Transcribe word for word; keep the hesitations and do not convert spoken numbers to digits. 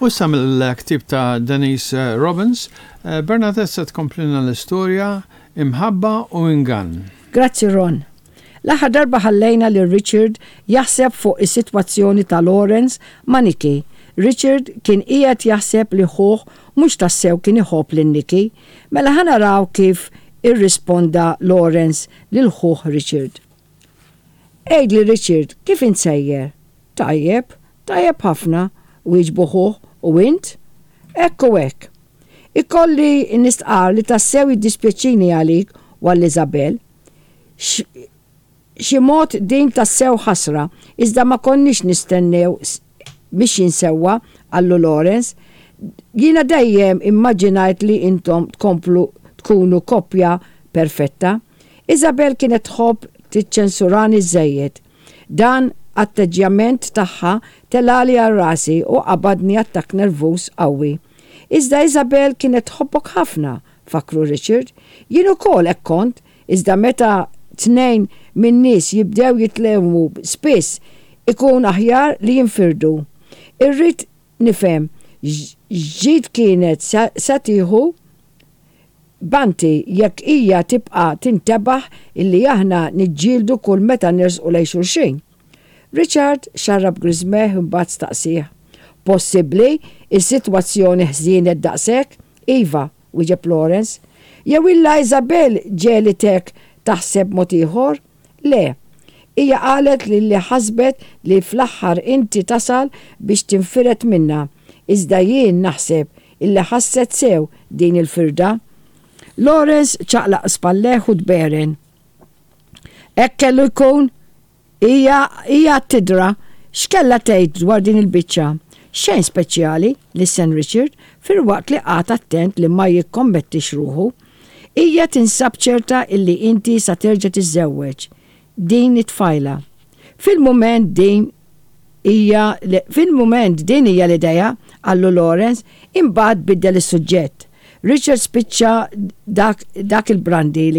U issa mill-ktib ta' Denise eh, Robbins, eh, Bernadette se tkomplina l-istorja Imħabba u Ingann. Grazzi, Ron. L-aħħar darba ħallejna lil Richard jaħseb fuq is-sitwazzjoni ta' Lawrence ma' Nikki. Richard kien qiegħed jaħseb li ħuh mhux tassew kien iħobb lil Nikki. Mela ħa naraw kif irrisponda Lawrence lil ħuh Richard. "Għidli, Richard, kif int sejjer?" "Tajjeb, tajjeb ħafna," wieġbu ħuh, "u int?" "Hekk u hekk. Ikolli nistqar li tassew jiddispjaċini għalik u għal Isabel. Xi mod din tassew ħasra, iżda ma konniex nistennew mixjin sewwa," qallu Lawrence. "Jiena dejjem immaġinajt li intom tkomplu tkunu koppja perfetta. Isabel kienet tħobb tiċċensurani żejjed. Dan atteġġjament tagħha telagħli għal rasi u qabadni attakk nervuż qawwi." "Iżda Isabel kienet tħobbok ħafna," fakru Richard. "Jien ukoll hekk kont, iżda meta tnejn min-nies jibdew jitlewmu spiss ikun aħjar li jinfirdu. Irrid nifhem x'ġid kienet sa tieħu Banti jekk hija tibqa' tintebaħ illi aħna niġġieldu kull meta nersqu lejn xulxin." Richard xarrab griżmejh, imbagħad staqsih: "Possibbli is-sitwazzjoni ħżienet daqshekk?" "Iva," wieġeb Lawrence. "Jew illa Isabel ġegħlitek taħseb mod ieħor?" "Le. Hija qalet li li ħasbet li fl-aħħar inti tasal biex tinfired minna. Iżda jien naħseb illi ħasset sew din il-firda." Lawrence ċaqlaq spallejh u tberen. "Hekk kellu jkun, hija hija tidra. X'kella tgħid dwar din il-biċċa?" "Xejn speċjali," lissen Richard filwaqt li qagħad attent li ma jikkommettix ruħu. "Hija tinsab ċerta illi inti sa terġa' tiżżewweġ din it-tfajla. Fil-mument din hija fil-mument din hija l-idea," qallu Lawrence, imbagħad biddel is-suġġett. Richard spiċċa dak, dak il-brandy li